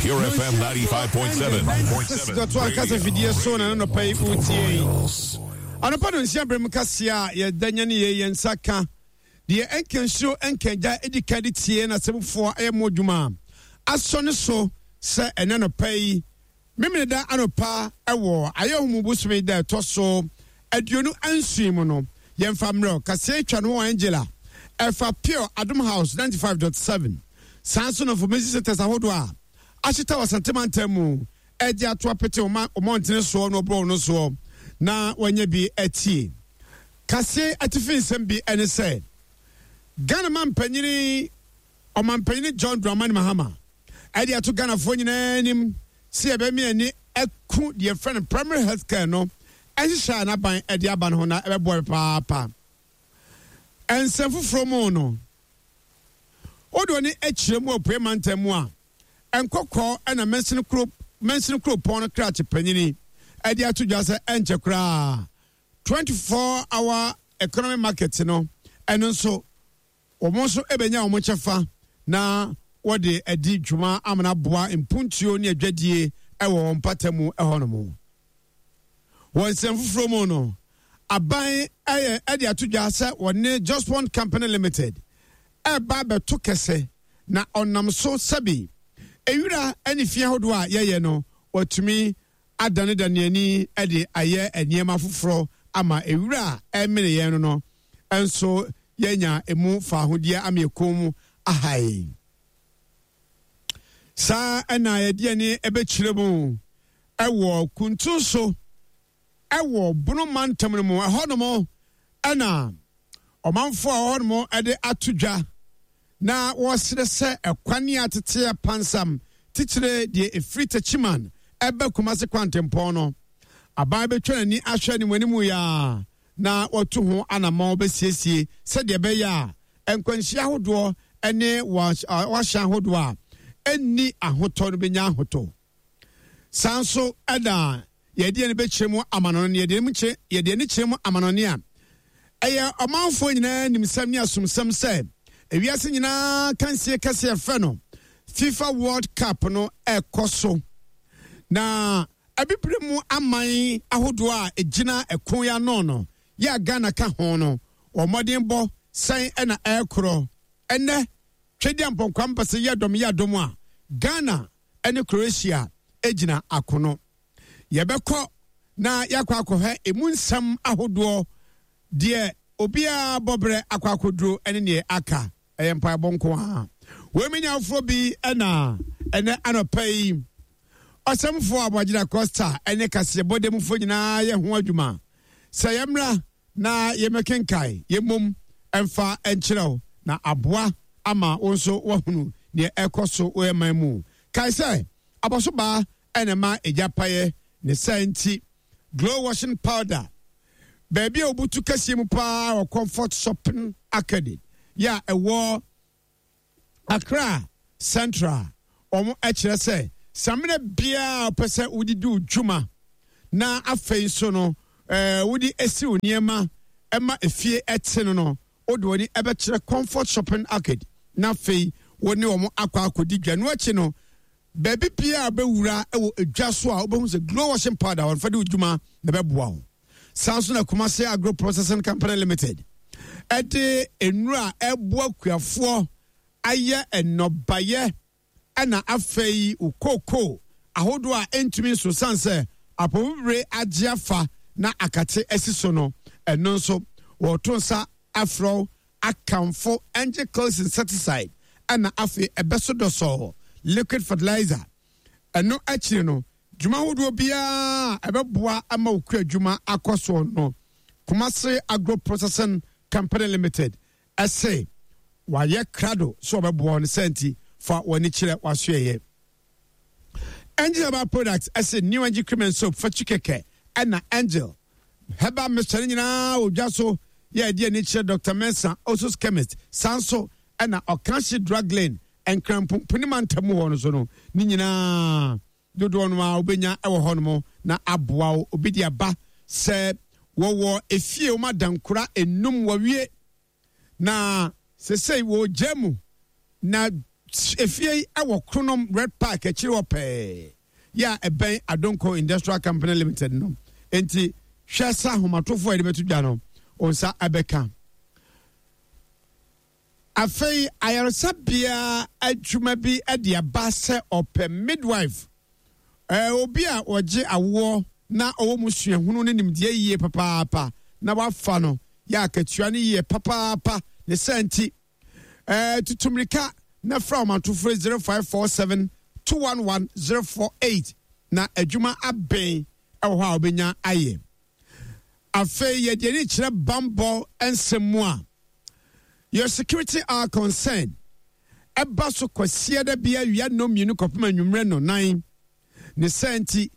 Pure FM 95.7. Dɔto ankasa fidie so na ne nɔpa yi wotie yi. Anɔpa no nsia berɛ mu kaseɛ a yɛda nya ne yei yɛn nsa ka deɛ ɛnka nsuo ɛnka agya ɛdi kan de tie na sɛmufoɔ ɛyɛ mo adwuma asɔ ne so sɛ ɛnɛ nɔpa yi Memeneda anɔpa wɔ Ayɛwomu bosome da ɛtɔ so 27 mu no, yɛmfa mmerɛw kaseɛ twa no wɔ Angela ɛfa Pure Adom House 95.7. Saa nso na information centers ahodoɔ a ahyeta wɔ Asante mantam mu ɛde ato apete wɔn mmɔntene soɔ na wɔborɔ no soɔ na wɔanya bi atie. Kaseɛ atifi nsɛm bi ɛne sɛ Ghana mampanyini Ɔmampanyini John Dramani Mahama ɛde ato Ghanafoɔ nyinaa anim sɛ yɛbɛme ani aku deɛ yɛfrɛ no primary health care no nhyehyɛe a n'aban de aba no ho na ɛbɛboa papaapa. Nsɛm foforɔ mu no, wode w'ani akyerɛ mu apuei mantam mu a, Nkɔkɔɔ na mansini kuro mansini kuropɔn no krakye panyini de ato dwa sɛ ɛnkyɛ koraa 24 hour economy market no ɛno nso Wɔn nso bɛnya wɔn kyɛfa na wɔde adi dwuma amana aboa mpuntuo ne adwadie wɔ wɔn mpata mu hɔnom. Wɔ nsɛm foforɔ mu no, aban yɛ de ato dwa sɛ wɔne Jospong Company Limited ɛreba abɛto kɛse na ɔnam so sɛbi ewira ne fie ahodoɔ a yɛyɛ no wɔatumi adanedane ani de ayɛ nneɛma foforɔ ama ewira a ɛmene yɛn no no nso yɛanya emu faahodeɛ ama yɛn kɔn mu aha yɛn. Saa ɛna yɛde ani ɛbɛkyerɛ mu ɛwɔ kuntun so ɛwɔ Bono mantam no mu. Ɛhɔnom ɛna ɔmanfoɔ a wɔhɔnom ɛde ato dwa na wɔsrɛ sɛ ɛkwan a tete apansam titire deɛ ɛfiri Techiman ɛba Kumasi kwantempɔn no aban bɛtwa n'ani ahwɛ anim anim yi ara na wɔatu ho anammɔn bɛsiesie sɛdeɛ ɛbɛyɛ a nkwanhyia ahodoɔ ne wɔahyɛn ahodoɔ a ɛnni ahotɔ no bɛnya ahotɔ. Saa nso na yɛde ani bɛkyerɛ mu amanɔne, yɛde ani kyerɛ mu amanɔne a ɛyɛ ɔmanfoɔ nyinaa nimsɛm ne asomsɛm sɛ ewiase nyinaa kansie kɛseɛ ɛfrɛ no FIFA World Cup no ɛkɔ so na Abibire mu aman ahodoɔ a ɛgyina ɛko yi ano no, yɛ a Ghana ka ho no, wɔn mmɔdenbɔ sɛn na ɛrekorɔ? Ɛnnɛ, Twedeampɔn Kwame Pase yɛ dɔm yɛ dɔm a Ghana ne Croatia gyina akono. Yɛbɛkɔ na yɛakɔ akɔhwɛ emu nsɛm ahodoɔ, deɛ obiara bɔberɛ akɔ akɔduro ne deɛ aka. Ɛyɛ mpaebɔ nko ara. Wei me nyafoɔ bi na ɛnɛ anɔpa yi ɔsɛmfoɔ Aboagye Costa ne kaseɛbɔ dɛmufoɔ nyinaa yɛ ho adwuma sɛ yɛmmra na yɛmmɛkenkae yɛmmom mfa nkyerɛw na aboa ama wo nso woahunu deɛ ɛkɔ so wɔ yɛn man mu. Kae sɛ abɔsobaa na ɛma egya paeɛ ne saa nti Glow washing powder, baabi a wobutu kɛseɛ mu paa wɔ Comfort Shopping Arcade yɛ a ɛwɔ Accra Central. Wɔn kyerɛ sɛ samina biara a wopɛ sɛ wode di wo dwuma na afei nso no wode esi wo nneɛma ma efie ɛte no no, wode w'ani ɛbɛkyerɛ Comfort Shopping Arcade na afei wo ne wɔn akɔ akɔdi dwa. No akyi no, Baabi biara a wobɛwura wɔ edwa so a wobɛhu sɛ Glow Washing Powder wɔmfa di wo dwuma na ɛbɛboa wo. Saa nso na Kumasi Agro Processing Company Limited ɛde nnuro a ɛboa kuafoɔ ayɛ nnɔbaeɛ ɛna afei wo kookoo ahodoɔ a ɛntumi nso sane sɛ apɔmubire agye afa na akate asi so no, ɛno nso wɔto nsa afrɛ wo akamfo Angel Close Insecticide ɛna afei ɛbɛso dɔsɔɔ liquid fertilizer. Ɛno akyiri no, dwuma ahodoɔ biara a ɛbɛboa ama wo kua adwuma akɔ soɔ no, Kumasi Agro Processing Company Limited ɛse wayɛ krado sɛ ɔbɛboa wo no sɛ nti fa w'ani kyerɛ w'asoɛeɛ. Angel Herbal Products ɛse New Angel Cream and Soap fatwi kɛkɛ ɛna Angel Herbal Mixture no nyinaa wɔ dwa so yɛ ɛde ani kyerɛ Dr. Mensah Osus Chemist saa nso ɛna Ɔkanhye Drug Lane Nkranpomponi mantam mu hɔ no so no ne nyinaa dodoɔ no a wobɛnya wɔ hɔ nom na aboa wo. Obi de aba sɛ wɔwɔ efie wɔn adankora enum wɔwie na sesei wɔgya mu na. Efie yi wɔ Kronom Red Park akyiri hɔ pɛɛ, yɛ a ɛbɛn Adonko Industrial Company Limited no. Enti hwɛ sɛ ahomatorofoɔ a yɛde bɛto dwa no, wo nsa bɛka. Afei ayaresabea adwuma bi de aba sɛ ɔpɛ midwife, obi a ɔgye awoɔ na ɔwɔ mu suahunu ne nimdeɛ yie papaapa na wafa no yɛ akatua no yie papaapa. Ne saa nti, tutu mmirika na fra ɔmantofoɔ 0547 211 048 na adwuma abɛn wɔ hɔ a wobɛnya ayɛ. Afei yɛde ani kyerɛ bammɔ nsɛm mu a, Your Security Our Concern ɛba so Kwasiada bi awia nnɔnmienu kɔpem anwummerɛ nnɔnan. Ne saa nti,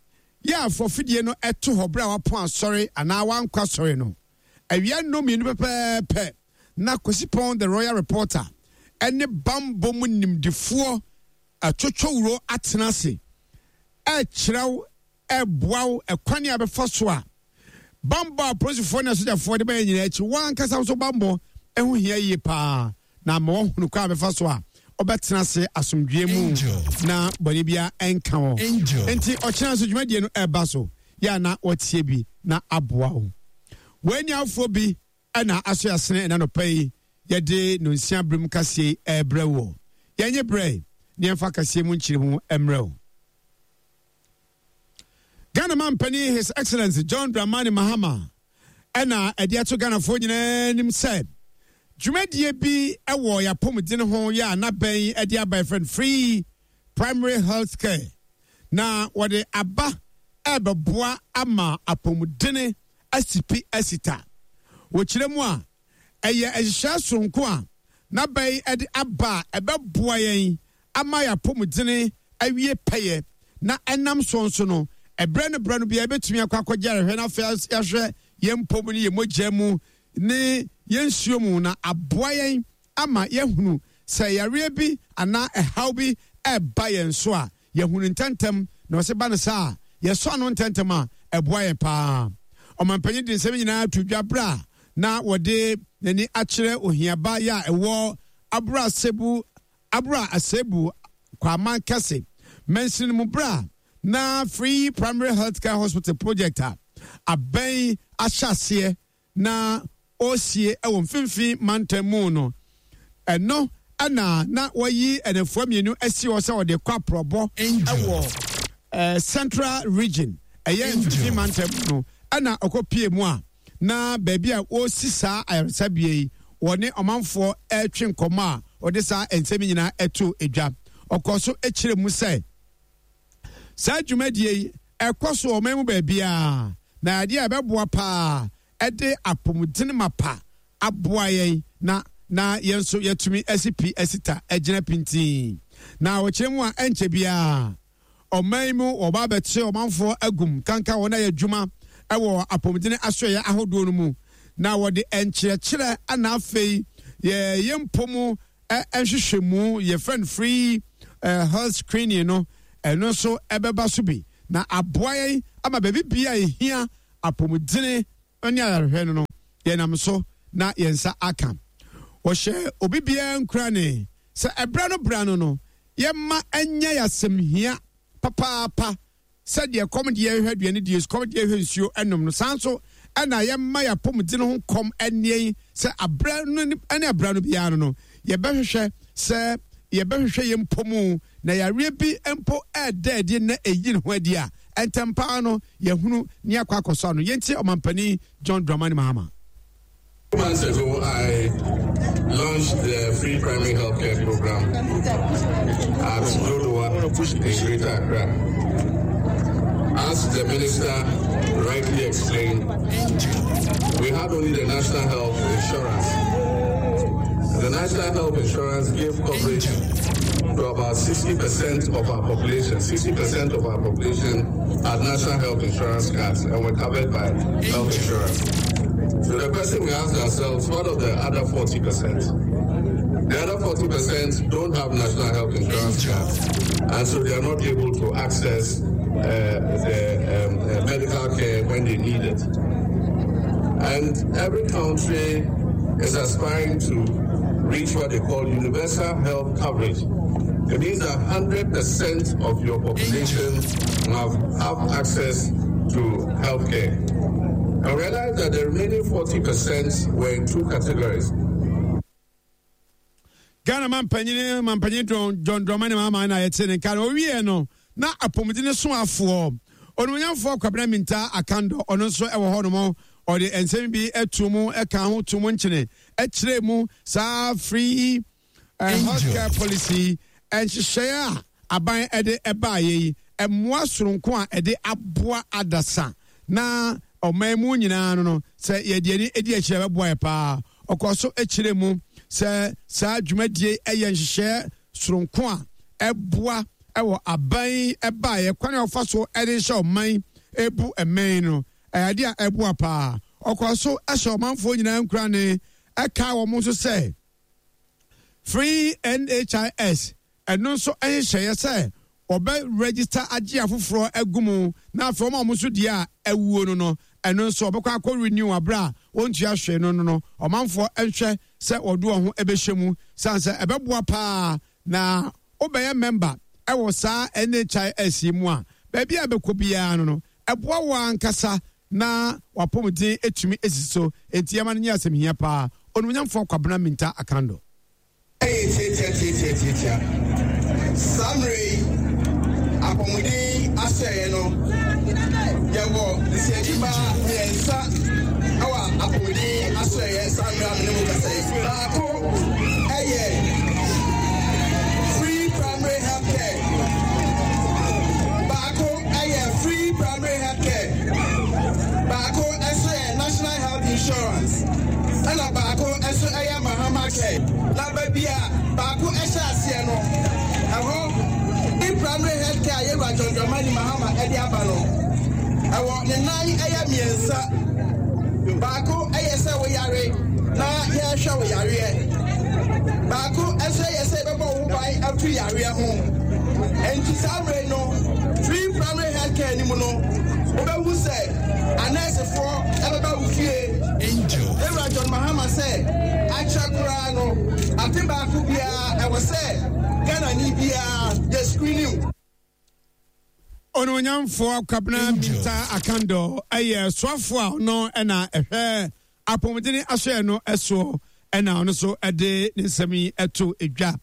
yɛ a fa afidie no to hɔ berɛ a wapɔn asɔre anaa wankɔ asɔre no. Awia nnɔnmienu pɛpɛɛpɛ na Kwasi Pɔn The Royal Reporter ne bammɔ mu nimdefoɔ Atwotwowuro atena ase rekyerɛ wo ɛreboa wo ɛkwan a bɛfa so a bammɔ a apolisifoɔ ne asogyafoɔ de bɛyɛ nyinaa akyi wɔn ankasa nso bammɔ ɛho hia yie paa na ama wɔahunu kwan a bɛfa so a ɔbɛtena ase asomdwoeɛ mu na bɔne biara ɛnka wɔ nti ɔkyena nso dwumadie no ɛreba so yɛ a na wɔtie bi na aboa wo wɔn afoɔ bi ɛna aso asene ɛna nɔpa yi yɛde nonsia berem kaseɛ yi ɛrebrɛ wɔ yɛnye berɛ ne yɛmfa kaseɛ mu nkyerɛ mu mmerɛ wo. Ghana mampanin His Excellency John Dramani Mahama ɛna ɛde ato Ghanafoɔ nyinaa anim sɛ dwumadie bi ɛwɔ yɛapɔmuden ho yɛ a n'abɛn ɛde aba ɛfrɛ no free primary health care na wɔde aba ɛbɛboa ama apɔmudene asipi asita. Wɔkyerɛ mu a, ɛyɛ nhyehyɛe soronko a n'abɛn de aba a ɛbɛboa yɛn ama yɛn apɔmuden awie pɛyɛ, na ɛnam so nso no, ɛberɛ ne berɛ no biara yɛbɛtumi akɔ akɔgye ayarehwɛ na afei yɛahwɛ yɛn mpɔ mu ne yɛn mogya mu ne yɛn nsuo mu na aboa yɛn ama yɛahunu sɛ yareɛ bi anaa ɛhaw bi reba yɛn so a, yɛahu no ntɛmntɛm, na ɔse ba no saa a, yɛsɔ ano ntɛmntɛm a, ɛboa yɛn paa. Ɔmanpanyin de nsɛm nyinaa to dwa bere a na wɔde n'ani akyerɛ ohiaba yɛ a ɛwɔ Abura Asebu, Abura Asebu Kwaman Kɛse mansini no mu bere a na Free Primary Health Care Hospital project a abɛn ahyɛ aseɛ na ɔresie wɔ mfimfini mantam mu no, ɛno na na wɔayi nnafua mmienu asi hɔ sɛ wɔde kɔ aprɔbɔ wɔ Central Region, ɛyɛ mfimfini mantam mu no, ɛna ɔkɔpie mu a na baabi a wɔresi saa ayaresabea yi, wɔne ɔmanfoɔ retwe nkɔmmɔ a wɔde saa nsɛm nyinaa ɛto dwa. Ɔkɔɔ so kyerɛ mu sɛ saa dwumadie yi ɛkɔ so wɔ ɔman mu baabiara, na adeɛ a ɛbɛboa paa ɛde apɔmuden mapa aboa yɛn na na yɛn nso yɛatumi asi pi asi ta agyina pintinn. Na ɔkyerɛ mu a ɛnkyɛ biara ɔman yi mu wɔba abɛte ɔmanfoɔ agum kanka wɔn ayɛ adwuma wɔ apɔmuden asoɛeɛ ahodoɔ no mu na wɔde nkyerɛkyerɛ ana afei yɛ yɛn mpɔ mu nhwehwɛmu yɛfrɛ no free health screening no ɛno nso ɛbɛba so bi na aboa yɛn ama baabi bia a ɛhia apɔmudene ne ayarehwɛ no no yɛnam so na yɛn nsa aka. Wɔhyɛ obi biara nkurane sɛ ɛberɛ no berɛ ano no yɛmma ɛnyɛ yɛn asɛmhia papaapa Sɛdeɛ kɔm deɛ hwɛ aduane die, sukɔm deɛ hwɛ nsuo nom no, saa nso na yɛmma yɛn apɔmuden ho kɔm nneɛn sɛ aberɛ no ne aberɛ no biara no no, yɛbɛhwehwɛ sɛ yɛbɛhwehwɛ yɛn mpo mu na yareɛ bi mpo ɛreda adi na ɛyi ne ho adi a, ntɛm pa ara no yɛahunu ne akɔ akɔsɔ ano. Yɛntie Ɔmampanin John Dramani Mahama. Months ago, I launched the free primary healthcare program at Dodowa in Greater Accra. As the minister rightly explained, we had only the National Health Insurance. The National Health Insurance gave coverage to about 60% of our population. 60% of our population had National Health Insurance cards and were covered by health insurance. So the question we ask ourselves, what of the other 40%? The other 40% don't have national health insurance cards, and so they are not able to access the medical care when they need it. And every country is aspiring to reach what they call universal health coverage. It means that 100% of your population have, have access to healthcare. I realized that the remaining 40% were in two categories. Ghana mampanyin mampanyin John Dramani Mahama na yɛte ne nka no owie no na apɔmuden soafoɔ onimonyamfoɔ Kwabena Minta Akandɔ ɔno nso ɛwɔ hɔ nom ɔde nsɛm bi ɛto mu ɛka ho to mu nkyene ɛkyerɛ mu saa free health care policy nhyehyɛeɛ a aban ɛde ɛbaayɛ yi mmoa soronko a ɛde aboa adasa na ɔman mu nyinaa no no sɛ yɛde ani edi akyire ɛbɛboa yɛ paa. Ɔkɔɔ so kyerɛɛ mu sɛ saa dwumadie yɛ nhyehyɛeɛ soronko a ɛboa wɔ aban baeɛ kwan a wɔfa so de hyɛ ɔman bu mmɛn no ɛyɛ adeɛ a ɛboa paa. Ɔkɔɔ so hyɛ ɔmanfoɔ nyinaa nkurane ɛkaa wɔn nso sɛ Free NHIS Ɛno nso nhyehyɛeɛ sɛ wɔbɛ register agye afoforɔ agu mu na afei wɔn a wɔn nso deɛ a awuo no no, ɛno nso wɔbɛkɔ akɔ renew aberɛ a wɔntua hwee no no no, ɔmanfoɔ nhwɛ sɛ wɔde wɔn ho bɛhyɛ mu sane sɛ ɛbɛboa paa na wobɛyɛ member wɔ saa NHIS yi mu a, baabi a bɛkɔ biara no no, ɛboa wo ankasa na w'apɔmuden atumi asi so, enti yɛma no nyɛ asɛm hia paa. Onimonyamfoɔ Kwabena Mintah Akandoh. Ɛyɛ tiatiatiatiatiatia. Saa mmerɛ yi, apɔmuden asɛeɛ no, yɛwɔ nsiakyibaa mmiɛnsa wɔ apɔmuden asɛeɛ saa mmerɛ a me ne mo kasa yi. Baako yɛ free primary health care. Baako yɛ free primary health care. Baako nso yɛ national health insurance. Ɛna baako nso yɛ Mahama Care. Na baabi a baako hyɛ aseɛ no, ɛhɔ ne primary health care a Yɛwura John Dramani Mahama de aba no, ɛwɔ ne nan yɛ mmiɛnsa. Baako yɛ sɛ woyare na yɛrehwɛ wo yareɛ. Baako nso yɛ sɛ yɛbɛbɔ wo ho ban afiri yareɛ ho. Enti saa mmerɛ no, free primary health care no mu no, wobɛhu sɛ anɛɛsefoɔ ɛbɛba wo fie. Yɛwura John Mahama sɛ akyɛ koraa no, afe baako biara ɛwɔ sɛ Ghanani biara yɛ screening. Onuonyamfoɔ Kwabena Mintah Akandoh yɛ soafoɔ a ɔno na ɛhwɛ apɔmuden asoɛeɛ no soɔ na ɔno nso de ne nsɛm yi to dwa.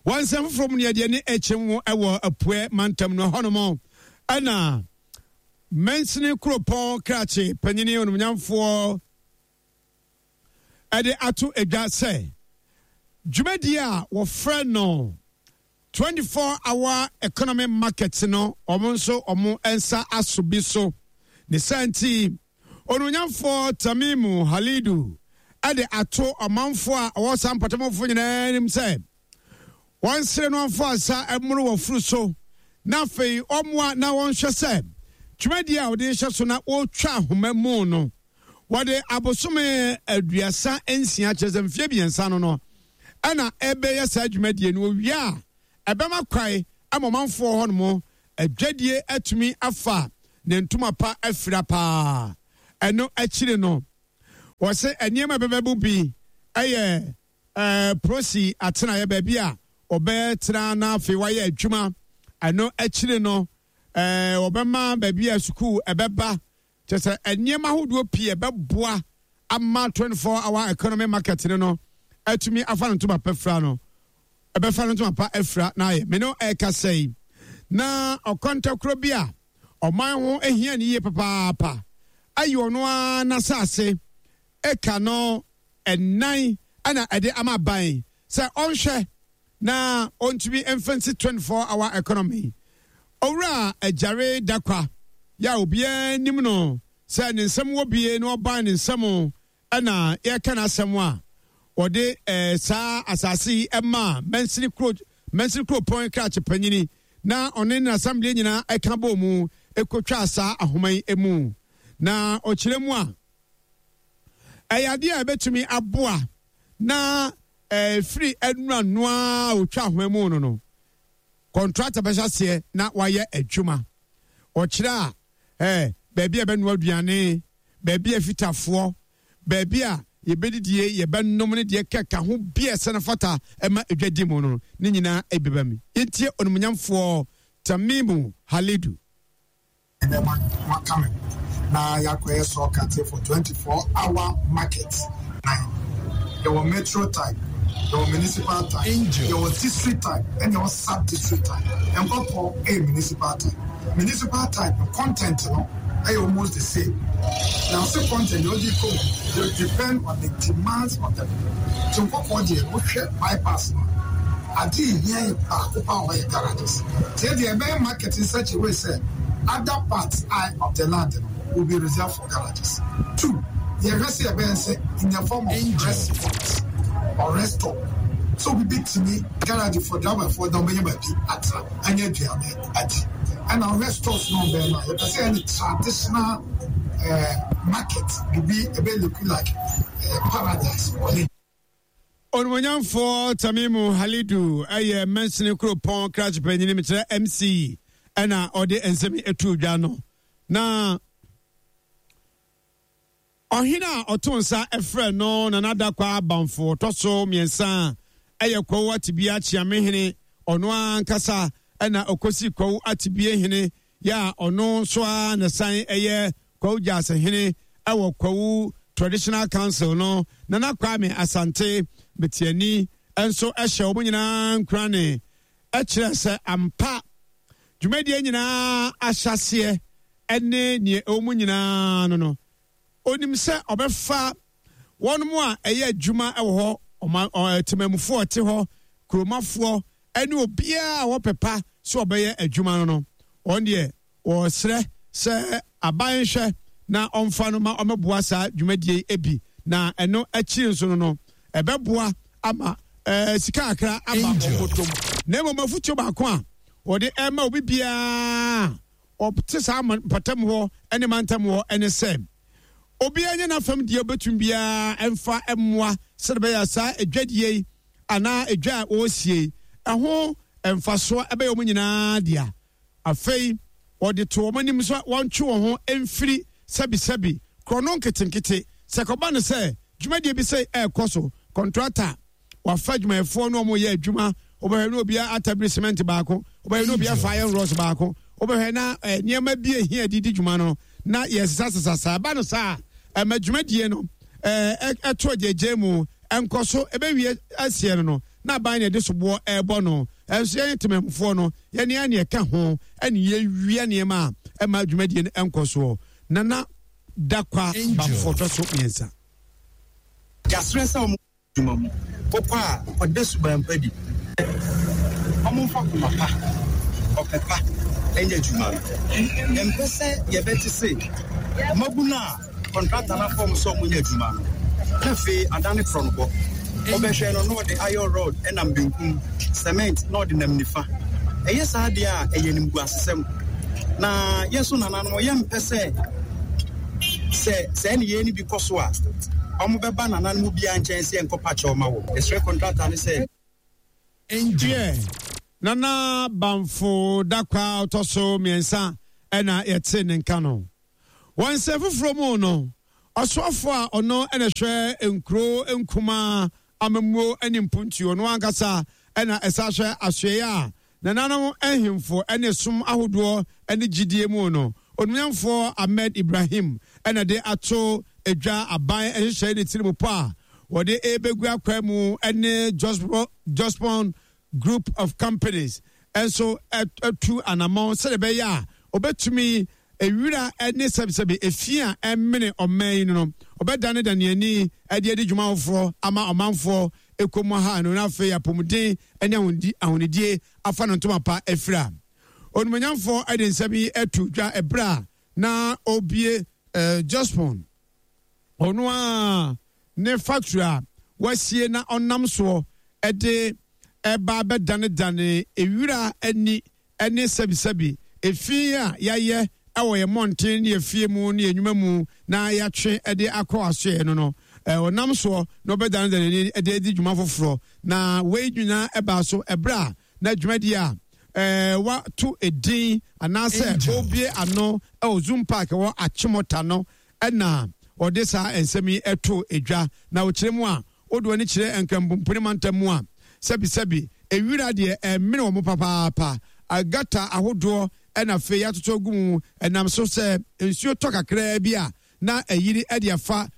Wɔ nsɛm foforɔ mu no yɛde ani kyem wo wɔ Apuɛ mantam no hɔnom ɛna mansini kuropɔn krakye panyini onumnyamfoɔ ɛde ato dwa sɛ dwumadie a wɔfrɛ no 24 hour economy market no wɔn nso wɔn nsa aso bi so. Ne saa nti, Onuonyamfoɔ Tamimu Halidu de ato ɔmanfoɔ a wɔwɔ saa mpɔtamfoɔ nyinaa anim sɛ wɔnsere no mfa nsa mmoro wɔ furu so na afei wɔmmoa na wɔnhwɛ sɛ dwumadie a wɔde rehyɛ so na wɔretwa ahoma mu no wɔde abosome 36 kyerɛ sɛ mfeɛ mmiɛnsa no no ɛna ɛbɛyɛ saa dwumadie no owie a ɛbɛma kwae ama ɔmanfoɔ hɔ nom adwadie atumi afa ne ntoma pa afira paa. Ɛno akyiri no wɔse nneɛma ɛbɛbɛbo bi ɛyɛ ɛɛ prosi atenaeɛ baabi a wɔbɛtena na afei wɔayɛ adwuma. Ɛno akyiri no ɛɛ wɔbɛma baabi a sukuu ɛbɛba Kyerɛ sɛ nneɛma ahodoɔ pii a ɛbɛboa ama 24 hour economy market no no atumi afa no ntoma pa fira no ɛbɛfa no ntoma pa afira na ayɛ me no ɛrekasa yi na ɔkɔntɔkorɔ bi a ɔman ho ahia ne yie papaapa ayi ɔno ara n'asase eka no ɛnan ɛna ɛde ama aban sɛ ɔnhwɛ na ɔntumi mfa nsi 24 hour economy. Owura Agyare Dakwa yɛ a obiara nim no sɛ ne nsɛm wɔ bie na ɔban ne nsɛm ɛna yɛka n'asɛm a wɔde eh, saa asase yi ɛmaa mansini kuro mansini kuropɔn krakye panyini na ɔne n'asɛmdeɛ nyinaa ɛka bɔɔ mu ɛkɔtwaa saa ahoma yi mu na ɔkyerɛ mu a ɛyɛ adeɛ a ɛbɛtumi aboa na Ɛfiri nnura no ara a ɔtwa ahoma mu no no, kɔntrata bɛhyɛ aseɛ na wayɛ adwuma. Ɔkyerɛ a, ɛɛ, baabi a ɛbɛnoa aduane, baabi a fitafoɔ, baabi a yɛbɛdidie, yɛbɛnom ne deɛ kɛka ho bi a ɛsɛ no fata ɛma edwadi mu no, ne nyinaa ɛbɛba mu. Yɛntie Onimuonyamfoɔ Tamimu Halidu. Ɛnɛ maka me ho na yɛakɔyɛ sɔɔkate for 24 hour market. Nan. Yɛwɔ metro type, yɛwɔ municipal type, yɛwɔ district type, ɛna yɛwɔ sub district type. Nkɔkɔ ɛyɛ municipal type. Municipal type no content no ɛyɛ almost the same. Na ɔsɛ content deɛ ɔde kɔ mu will depend on the demands of the people. Nti nkɔkɔ deɛ wohwɛ bypass no a, ade ehia yɛ baako paa wɔ hɔ yɛ garages. Nti ɛdeɛ ɛbɛyɛ market in such a way sɛ other parts of the land no will be reserved for garages. 2, Yɛhwɛ sɛ yɛbɛyɛ sɛ in the form of rest point or rest stop sɛ obi bɛtumi garage for driver foɔ da ɔbɛnya baabi atena anya aduane adi. Ɛna wohwɛ stores no ɔbɛn no a, yɛpɛ sɛ yɛne traditional eh, market biribi ɛbɛ look like eh, paradise ɔne. Onimuonyamfoɔ Tamimu Halidu yɛ mansini kuropɔn krakye panyin, mekyerɛ MC, ɛna ɔde nsɛm yi too dwa no. Na ɔhene a ɔto nsa frɛ no Nana Dakwaa Bamfo ɔtɔ so mmiɛnsa yɛ Kwawu Atibie Akyeamehene, ɔno ankasa ɛna ɔkɔsi Kwawu Atibie hene yɛ a ɔno nso ara na san yɛ Kwawu Gyase hene wɔ Kwawu Traditional Council no. Nana Kwame Asante Betiani nso hyɛ wɔn nyinaa nkurane kyerɛ sɛ ampa dwumadie nyinaa ahyɛaseɛ ne nea ɛwɔ mu nyinaa no no, onim sɛ ɔbɛfa wɔn a ɛyɛ adwuma wɔ hɔ, ɔma temamufoɔ ɔte hɔ, kuromafoɔ ne obiara a wɔpɛ pa sɛ ɔbɛyɛ adwuma no no, wɔn deɛ wɔsrɛ sɛ aban nhwɛ na ɔmfa no ma ɔmɛboa saa dwumadie yi bi, na ɛno akyiri nso no no ɛbɛboa ama ɛɛ sika kakra aba wɔn bɔtɔm. Na mmom afutuo baako a wɔde ɛma obi biara ɔte saa mpɔtam hɔ ne mantam hɔ ne sɛ obiara nyɛ n'afam deɛ ɔbɛtumi biara mfa mmoa sɛdeɛ ɛbɛyɛ saa adwadie yi anaa edwa a wɔresie yi ɛho mfasoɔ ɛbɛyɛ wɔn nyinaa dea. Afei wɔde to wɔn anim sɛ wɔntwe wɔn ho mfiri sɛbisɛbi korɔno nketenkete. Sɛ ɛkɔba no sɛ dwumadie bi sei ɛrekɔ so, kɔntrata wafa adwumayɛfoɔ na wɔyɛ adwuma, wobɛhwɛ na obiara atabiri cement baako, wobɛhwɛ na obiara fa iron rods baako, wobɛhwɛ na eh, nneɛma bi ehia de di dwuma no na yɛsesasesa saa. Ɛba no saa a, ɛma dwumadie no eh, ɛto agyagya mu, ɛnkɔ so, ɛbɛwie aseɛ no no na aban na ɛde soboɔ ɛrebɔ no. Ɛnso yɛn temamufoɔ no, yɛne a ne ɛka ho ɛne yɛwia nneɛma a ɛma dwumadie no ɛnkɔ soɔ. Nana Dakwa Bamfoɔ tɔ so mmiɛnsa. Yɛasrɛ sɛ wɔn adwuma mu. Wokɔ a, kɔda suban pa di. Wɔmfa koma pa, ɔpɛ pa nyɛ adwuma no. Yɛmpɛ sɛ yɛbɛte se mmabunu a kɔntrata no afa wɔn sɛ wɔnyɛ adwuma no, na afei adane korɔnobɔ. Wobɛhwɛ no na ɔde iron rod nam benkum, cement na ɔde nam nifa. Ɛyɛ saa deɛ a, ɛyɛ animguasesɛm. Na yɛn nso nananom, yɛmpɛ sɛ sɛ saa nneyɛe no bi kɔ so a, wɔbɛba nananom biara nkyɛn sɛ yɛnkɔpa kyɛw ma wɔn. Yɛsrɛ kɔntrata no sɛ. Deɛ Nana Bamfo Dakwah a ɔtɔ so mmiɛnsa na yɛte ne nka no. Wɔ nsɛm foforɔ mu no, ɔsoafoɔ a ɔno na ɛhwɛ nkuro nkumaa amammuo ne mpuntuo, ɔno ankasa na ɛsan hwɛ asoɛeɛ a nananom nhemfo ne som ahodoɔ ne gyidie mu no, Onuonyamfoɔ Ahmed Ibrahim na de ato dwa aban nhyehyɛe ne tirimupɔ a wɔde rebɛgu akwan mu ne Jospong Group of Companies nso atu anammɔn sɛdeɛ ɛbɛyɛ a ɔbɛtumi ewira ne sɛbisɛbi efi a ɛmene ɔman yi no no, ɔbɛdanedane ani de adi dwuma foforɔ ama ɔmanfoɔ ɛkɔ ha no na afei apɔmuden ne ahonidie afa no ntoma pa afira. Onimonyamfoɔ de nsɛm yi ato dwa ɛberɛ a na ɔrebue Jospong ɔno ara ne factory a wasie na ɔnam soɔ de ɛba bɛdanedane ewira ani ne sɛbisɛbi efi a yɛayɛ wɔ yɛn mmɔnten ne yɛn fie mu ne yɛn nnwuma mu na yɛatwe de akɔ asoɛe no no, ɔnam soɔ na ɔbɛdanedane ani de adi dwuma foforɔ. Na wei nyinaa ɛbaa so ɛberɛ a na dwumadie a wato edin anaasɛ ɔrebue ano wɔ Zoom Park wɔ Achimota no na. ɔde saa nsɛm yi too dwa. Na ɔkyerɛ mu a, wode w'ani kyerɛ Nkranbomponi mantam mu a, sɛbisɛbi, ewira deɛ ɛmene wɔn papaapa. Gutter ahodoɔ na afei yɛatoto agu mu, ɛnam so sɛ nsuo tɔ kakraa bi a, na ayiri de afa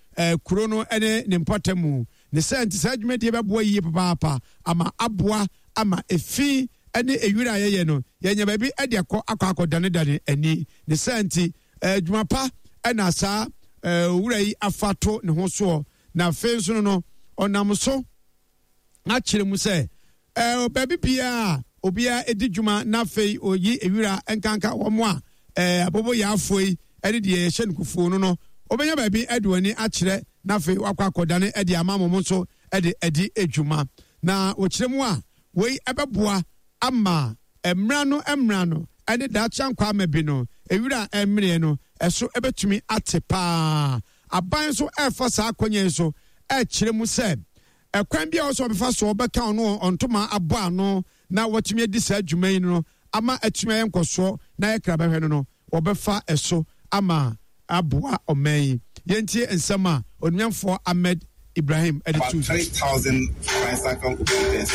kuro no ne ne mpɔtam. Ne saa nti, saa dwumadie bɛboa yie papaapa ama aboa ama efi ne ewira a yɛyɛ no, yɛanya baabi de akɔ akɔ akɔdanedane ani. Ne saa nti, adwuma pa na saa owura yi afa to ne ho soɔ. Na afei nso no no, ɔnam so akyerɛ mu sɛ baabi biara a obiara di dwuma na afei oyi ewira nkanka wɔn a aboboyaafoɔ yi ne deɛ yɛhyɛ no kufuo no no, wɔbɛnya baabi de wɔn ani akyerɛ na afei wakɔ akɔdane de ama wɔn nso de adi dwuma. Na wɔkyerɛ mu a, wei ɛbɛboa ama mmra no mmra no ne daakye ankwamma bi no, ewira a ɛmmereɛ no, ɛso ɛbɛtumi ate paa. Aban nso ɛrefa saa akwannya yi so ɛrekyerɛ mu sɛ ɛkwan bi a ɔsɛ ɔbɛfa so ɔbɛka ɔno ɔntoma abɔ ano na watumi adi saa dwuma yi no ama atumi ayɛ nkɔsoɔ na ayɛ krabɛhwɛ no no, wɔbɛfa ɛso ama aboa ɔman yi. Yɛntie nsɛm a Onuamfoɔ Ahmed Ibrahim de About too dwa. 3,000 tricycle operators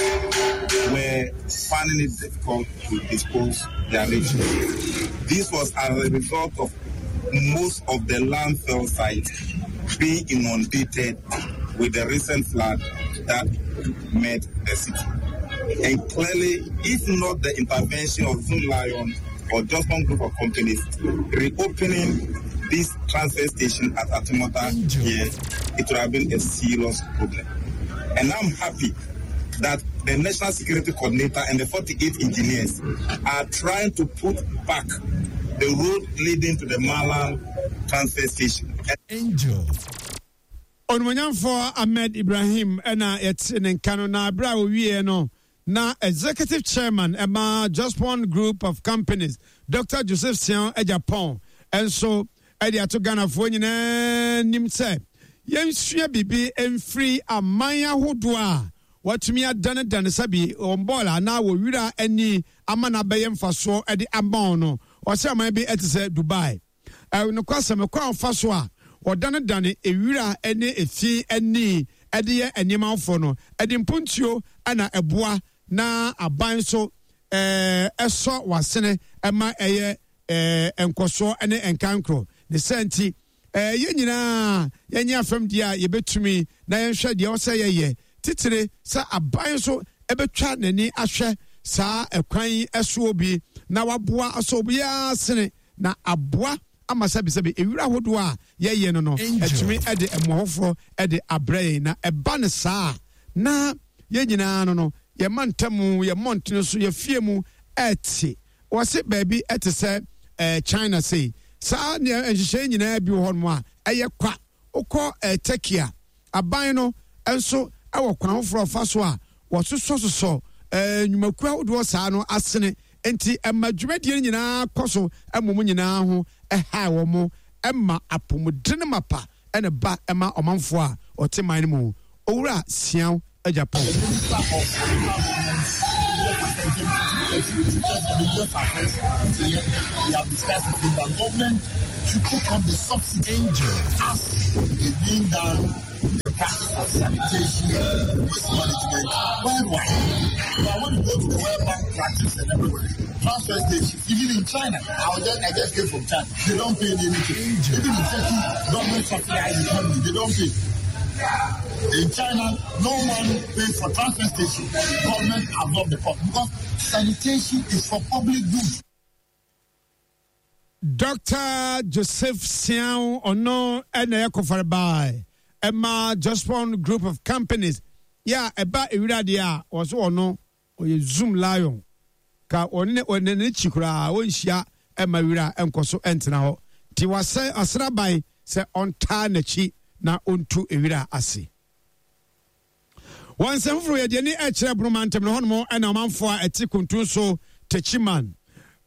were finding it difficult to dispose their refuse. This was as a result of most of the landfill sites being inundated with the recent flood that met the city. And clearly, if not the intervention of Zoomlion or Jospong Group of Companies, reopening this transfer station at Achimota here, it would have been a serious problem. And I'm happy that the National Security Coordinator and the 48 engineers are trying to put back the road leading to the Malang transfer station. Angel. Onimuonyamfoɔ Ahmed Ibrahim na yɛte ne nka no, na berɛ a ɔwieɛ no, na Executive Chairman ma Jospong Group of Companies, Dɔkta Joseph Siaw Agyapong nso de ato Ghanafoɔ nyinaa anim sɛ yɛnsua biribi mfiri aman ahodoɔ a wɔatumi adanedane sɛbi wɔn bɔɔl anaa wɔ wira ani ama no abɛyɛ mfasoɔ de ama wɔn no. Ɔsɛ aman bi te sɛ Dubai. Nokwasɛm, kwan a wɔfa so a wɔdanedane wira ne efi ani de yɛ nneɛma foforo no, ɛde mpontuo na ɛboa na aban nso sɔ w'asene ma ɛyɛ nkɔsoɔ ne nkankorɔ. Ne saa nti, yɛn nyinaa yɛnyɛ afam deɛ a yɛbɛtumi na yɛnhwɛ deɛ ɛwɔ sɛ yɛyɛ, titire sɛ aban nso bɛtwa n'ani ahwɛ saa ɛkwan yi soɔ bi na waboa asɔ obiara asene na aboa ama sɛbesɛbe ewira ahodoɔ a yɛyɛ no no atumi de mmoa foforɔ de abrɛ yɛn. Na ɛba no saa a, na yɛn nyinaa no no, yɛn mantamu, yɛn mmɔntene so, yɛn fie mu ɛte. Wɔse baabi te sɛ eh, China sei, saa nea nhyehyɛe nyinaa bi wɔ hɔnom a ɛyɛ kwa. Wokɔ eh, Turkey a, aban no nso wɔ kwan foforɔ a ɔfa so a wɔsosɔsosɔ eh, nnwumakuo ahodoɔ saa no asene. Enti ɛma dwumadie no nyinaa kɔ so mmom nyinaa ho ɛhae wɔn, ɛma apɔmuden mapa na ɛba ma ɔmanfoɔ a wɔte man no mu. Owura Siaw Agyapong. The Minister of Local Government, We have discussed it that government should take up the subsidy as is being done in the practice of sanitation, waste management worldwide. But when you go to the World Bank practice and everywhere, transfer stations, even in China, I, was just, I just came from China, they don't pay anything. Even in Turkey, government subsidize economy, they don't pay. In China, no one pays for transfer station. Government absorb the cost because sanitation is for public good. Dr. Joseph Siao ɔno ɛna ɛyɛ kɔfarebae ɛma Jospong Group of Companies yɛ a ɛba ewira deɛ a wɔso ɔno ɔyɛ Zoom Lion ka ɔne ne ɔne n'akyi koraa ɔnhyia ɛma wira ɛnkɔ so ɛntena hɔ nti wasɛ asraban sɛ ɔntaa n'akyi na ɔntu ewira ase. Wɔ nsɛm foforo yɛde ani ɛkyerɛ Bono mantam no hɔnom ɛna ɔmanfoɔ a ɛte Kuntun so Techiman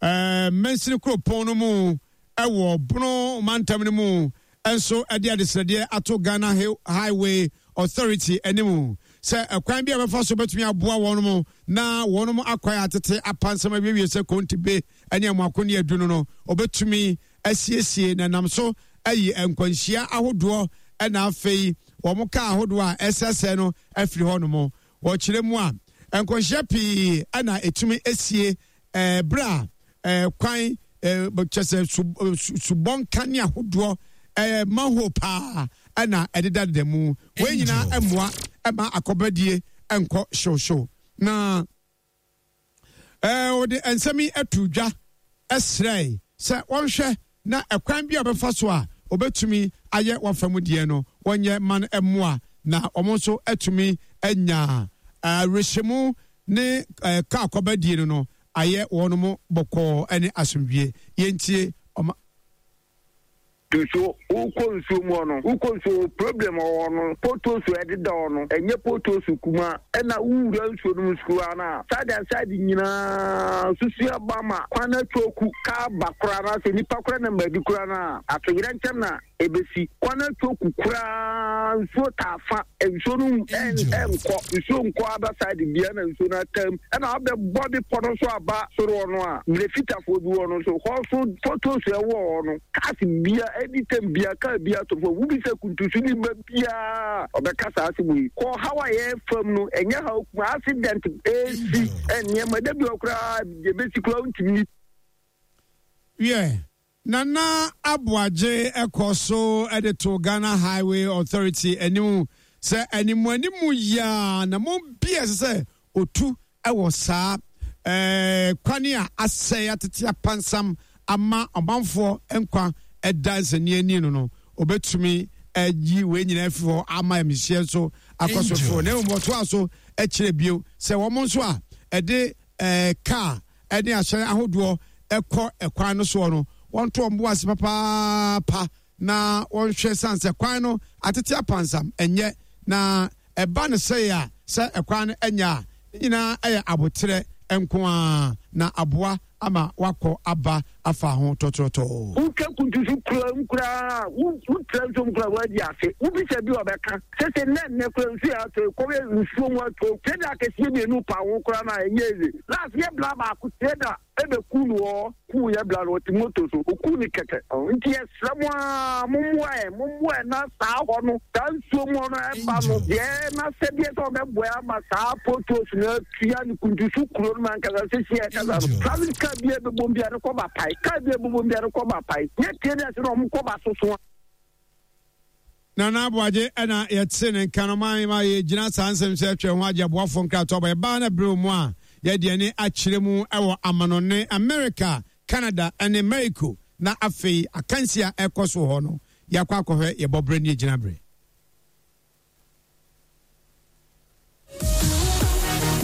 ɛɛ mansini kuropɔn no mu ɛwɔ Bono mantam no mu nso ɛde adesrɛdeɛ ato Ghana Highway Authority anim sɛ ɛkwan bi a bɛfa so bɛtumi aboa wɔn na wɔn akwan atete apansam awiewie sɛ Kontibe ne Amoako ne Adu no no wɔbɛtumi asiesie na nam so ayi nkwanhyia ahodoɔ na afei wɔn kaa ahodoɔ a ɛsɛsɛ no afiri hɔ nom. Wɔkyerɛ mu a, nkwanhyia pii na ɛtumi sie berɛ a kwan kyɛ sɛ subɔnka ne ahodoɔ manhole paa na ɛdedadeda mu. Wei nyinaa mmoa ma akɔbadie nkɔ hyewhyew. Na wɔde nsɛm yi ato dwa srɛe sɛ wɔnhwɛ na ɛkwan bi a wɔbɛfa so a wɔbɛtumi ayɛ wɔafa mu deɛ no wɔnyɛ ma no mmoa na wɔn nso atumi anya awerɛhyɛmu ne kaa kɔbadie no no ayɛ wɔn mo bɔkɔɔ ne asomdwie. Yɛntie ɔma. Nso wokɔ nsuo mu hɔ no, wokɔ nsuo hɔ problem wɔ hɔ no, potholes a ɛdeda hɔ no, ɛnyɛ potholes kumaa, ɛna wowura nsuo no mu nso koraa no a, side and side nyinaa susu aba ma kwan no atwoku, kaa ba koraa no asɛ nipa koraa nam baabi koraa no a, atoyerɛnkyɛm na ɛbɛsi. Kwan no atwoku koraa, nsuo taa fa, nsuo no ɛnkɔ, nsuo nkɔ other side biara na nsuo no atam. Ɛna wabɛbɔ bepɔ no nso aba soro hɔ no a, mmerɛ fitafoɔ bi wɔ no nso, hɔ nso potholes a ɛwɔ hɔ no, cars bia, anytime bia, car bia to fam, wobisa kuntusu ni ba biara ɔbɛka saa asɛm yi. Kɔ haw a yɛfam no, ɛnyɛ haw kuma, accident ɛsi, nneɛma, da bi hɔ koraa, deɛ ɛbɛsi koraa wontumi. Wiɛ, Nana Aboagye kɔ so de to Ghana Highway Authority anim sɛ animuanimu yi ara anammɔn bi a ɛsɛ sɛ otu wɔ saa kwan a asɛe atete apansam ama ɔmanfoɔ nkwa da nsɛnniani no no, obetumi ayi wei nyinaa afiri hɔ ama amihyeɛ nso akɔ so foro. Na mmom ɔtoa so kyerɛ bio sɛ wɔn nso a ɛde kaa ne ahyɛn ahodoɔ kɔ kwan no soɔ no, wɔnto wɔn bo ase papaapa na wɔnhwɛ sane sɛ kwan no atete apansam ɛnyɛ na ɛba no sɛe a sɛ ɛkwan no ɛnyɛ a ne nyinaa ɛyɛ aboterɛ nko ara na aboa ama wakɔ aba afa ho tɔtrɔtɔɔ. Wotwa kuntu so kura mu koraa a, wotra nsuo mu koraa woadi afe. Wobisa bi a ɔbɛka. Sese nnɛ nnɛ koraa nsuo yɛ atɔ yi, kɔyɛ nsuo mu atɔ. Trader akɛseɛ mmienu pa ho koraa no a ɛnyɛ easy. Last yɛ bla baako trader ɛbɛku no hɔ, kuu yɛ bla no ɔte moto so, ɔkuu no kɛkɛ. Nti yɛsrɛ mo ara mommoa yɛn, mommoa yɛn na saa hɔ no, saa nsuo mu hɔ no ɛba no deɛ n'asɛdeɛ sɛ ɔbɛboa yɛn ama saa potholes no tua ne kuntusu kuro no mu ankasa sisi a ɛkasa no traffic car bi a ɛbɛbom biara no kɔba pae car bi a ɛbɛbom biara no kɔba pae nyɛ tie ne ase na wɔn kɔba soso a. Nana Aboagye na yɛte ne nka no ma ma yɛgyina saa nsɛm sɛ atwa ho agye aboafoɔ nkratoɔ aba yɛbaa no berɛ mu a yɛde ani akyerɛ mu wɔ amanɔne America, Canada ne Mexico na afei akansi a ɛkɔ so hɔ no yɛakɔ akɔhwɛ yɛbɔ berɛ ne yɛgyina berɛ.